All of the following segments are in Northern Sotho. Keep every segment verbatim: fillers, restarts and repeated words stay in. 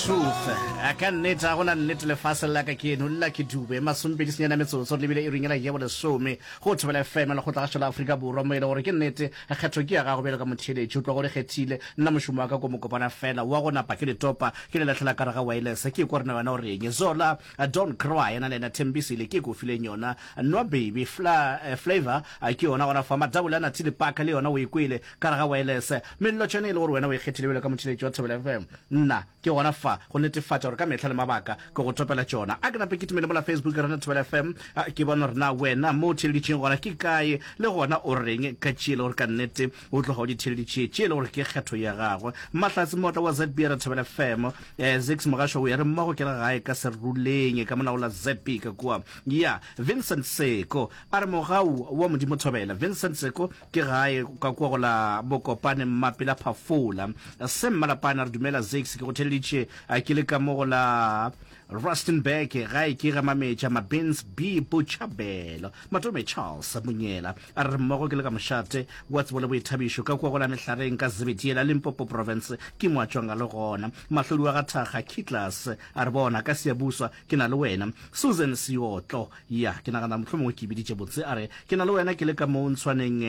Truth. A ka nnete ga gona nnete lefaseng la ka ke eno Lucky Dube masomepedi senyane metsotso re lebile iring yela ya bolesome go Thobela F M lekgotlagašo la Afrika Borwa mo e le gore ke nnete kgetho ke ya gago bjalo ka motheeletši o tloga o le kgethile nna mošomo wa ka ko mokopana fela wa go napa ke le topa ke le lahlela ka re ga wireless ke kwa rena wena o reng Zola Don't Cry yena le yena Thembisile ke ko fileng yona Nwa Baby Fla, eh, Flavor ke yona gona fa Madabole a Nathile Paka le yona o e kwele ka re ga wireless Mello tšona e le gore wena o e kgethile bjalo ka motheeletši wa Thobela F M nna ke gona fa go netefatša gore ka mehla le mabaka ke go topela tšona. A ke nape ke timele mola Facebook ya rena Thobela F M ke bone gore na wena mo o theeleditšeng gona ke kae le gona o reng ka tše e le gore ka nnete o tloga o di theeleditše tše e le gore ke kgetho ya gagwe. Mahlatse Motla wa Z B re Thobela F M eh, Zix Mogasho o ya re mmogo ke le gae ka Seruleng ka mona go la Z B ka kua ya Vincent Seko a re mogau wa Modimo Thobela Vincent Seko Ke gae ka kua go la Mokopane Mmapela Phafola. Se Mmalapane a re dumela Zakes ke go theleditše ke le ka mo go la Rustenburg gae ke ga Mametša Mabins B Botšhabelo. Matome Charles Monyela a re re mmogo ke le ka mošate wa tsebo le boithabišo ka kua go la Mehlareng ka Zebediela Limpopo Province ke mo a tšwang a le gona. Mahlodi wa ga Thakga Kitlas a re bona ka Siyabuswa ke na le wena. Susan Seotlo Ya, ke nagana mohlomongwe ke e biditše botse. A re, Ke na le wena ke le ka mo ntshwaneng,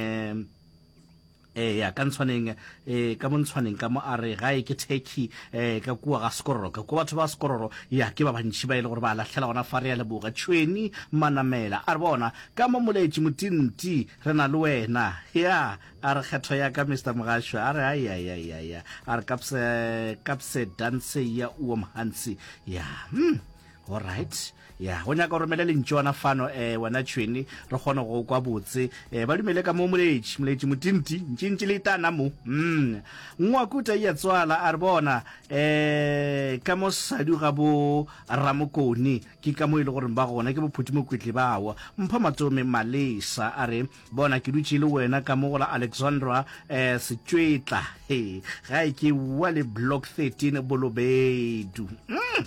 eh, ya, ka ntshwaneng, eh, ka mo ntshwaneng ka mo. A re, Gae ke Turkey, eh, ka kua ga Skororo. Ka kua batho ba Skororo, ya, ke ba bantši ba e le gore ba lahlela gona fa. Re a leboga. Tšhweni Manamela a re, Bona, ka mo Moletši Motinti, re na le wena. Ya, a re, Kgetho ya ka, Mister Mogasho. A re, Ai, ai, ai, ai, a re, Kapse, kapse danse ya uom hansi. Ya, hmm. Alright. Ya, go nyaka o romele lentšwana fano eh wena Tšhweni, re kgone go kwa botse. Eh ba dumele ka mo moletši, moletši motinti, ntšintši le itana mo. Mm. Ngwakuta iya tswala a re bona eh ka mo sadu ga bo Ramokone ke ka mo e le gore ba gona ke bo Phuti Mokwetli bao. Mpho Matome Malesa a re bona ke dutše le wena ka mo go la Alexandra eh Setšwetla. He, gae ke wa le block thirteen Bolobedu. Mm.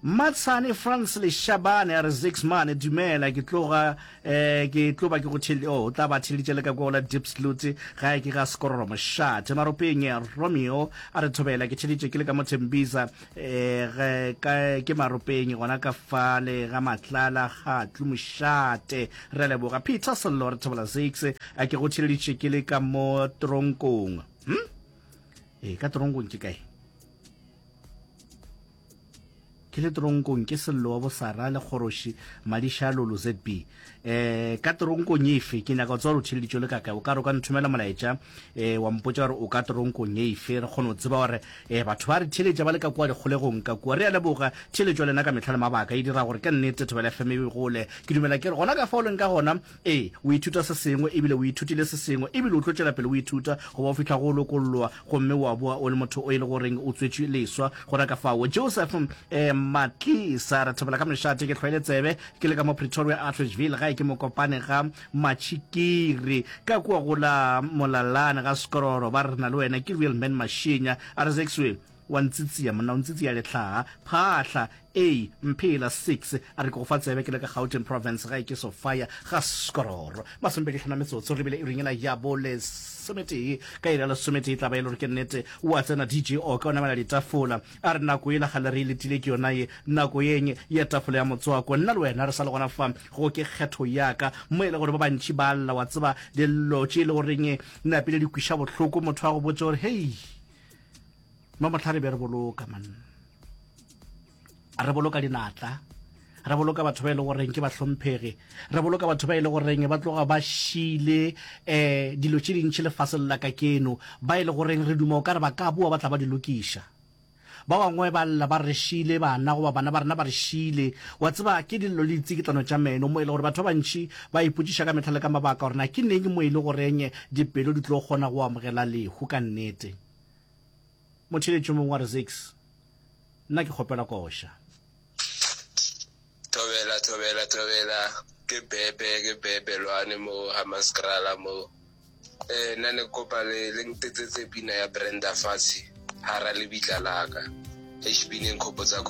Mmatshane Frans Leshabane a re Zix mane dumela ke tloga eh ke tlo ba ke go theleditše oh o tla ba theleditše le ka kwa go la Diepsloot gae ke ga Skororo Mošate Maropeng Romeo a re thobela ke theleditše ke le ka mo Tembisa eh ge ka ke Maropeng gona ka fale ga Matlala Kgatlu Mošate re a leboga Peter Sello re thobela Zix a ke go theleditše ke le ka mo tronkong hm eh ka tronkong ke kae Ke le toronkong ke Sello wa Bosara le Kgoroši Madišalolo Z B. Eh, ka toronkong efe? Ke nyaka go tseba gore o theeleditše o le ka kae. O ka re o ka nthomela molaetša eh, wa mpotša gore o ka toronkong efe, re kgone go tseba gore eh, batho ba re theeletša ba le ka kua dikgolegong ka kua. Re a leboga theeletšo ya lena ka mehla le mabaka, e dira gore ka nnete Thobela F M e gole. Ke dumela ke re gona ka fao o leng ka gona, Ee, o ithuta se sengwe, e bile o ithutile se sengwe, e bile o tlo tšwela pele o ithuta go ba o fihla go o lokolloa gomme wa boa o le motho o e le goreng o tswetšwe leswa. Gona ka fao, Joseph eh, Matlisa, re thobela ka mešate, ke hlwaile tsebe, ke le ka mo Pretoria Atteridgeville, gae ke Mokopane ga Matšhikiri, ka kua go la Molalane ga Skororo, ba re re na le wena, ke Real Man Mashinya, a re Zexwe, wa ntsitsia monna, o ntsitsia lehlaha, phahla, A, Mphela six, a re ke go fa tsebe ke le ka Gauteng Province gae ke Sophia ga Skororo. Masomepedi hlano metsotso re bile iring yela ya bo lesometee ka iri ya lesometee tla ba e le gore ke nnete wa tsena D J Oka o namela ditafola a re nako yela gale re e letile ke yona ye nako yeng ya tafola ya motswako nna le wena re sa le gona fa go ke kgetho ya ka mo e le gore ba bantši ba lla wa tseba dillo tše e le goreng napile di kwiša bohloko motho a go botse gore hei mo mohla re be re boloka man re boloka dinatla re boloka batho ba e le goreng ke bahlomphegi re boloka batho ba e le goreng ba tloga ba šile um dilo tše dintši lefaseng la ka keno ba e le goreng re duma o ka re ba ka boa ba tla ba di lokiša ba bangwe ba lla ba re šile bana goba bana ba rena ba re šile wa tseba ke dillo le ditsikitlano tša meno mo e le gore batho ba bantši ba ipotšiša ka mehla le ka mabaka gore na ke neng mo e le goreng dipelo di tlo kgona go amogela lehu ka nnete Motheeletši yo mongwe wa re, Zakes, nna ke kgopela koša. Thobela thobela thobela ke bebe ke bebe lwane mo Hammanskraal mo eh nna ne kopa le le ntetsetse pina ya Brenda Fassie hara lebitla laka eish pina e nkgopotsa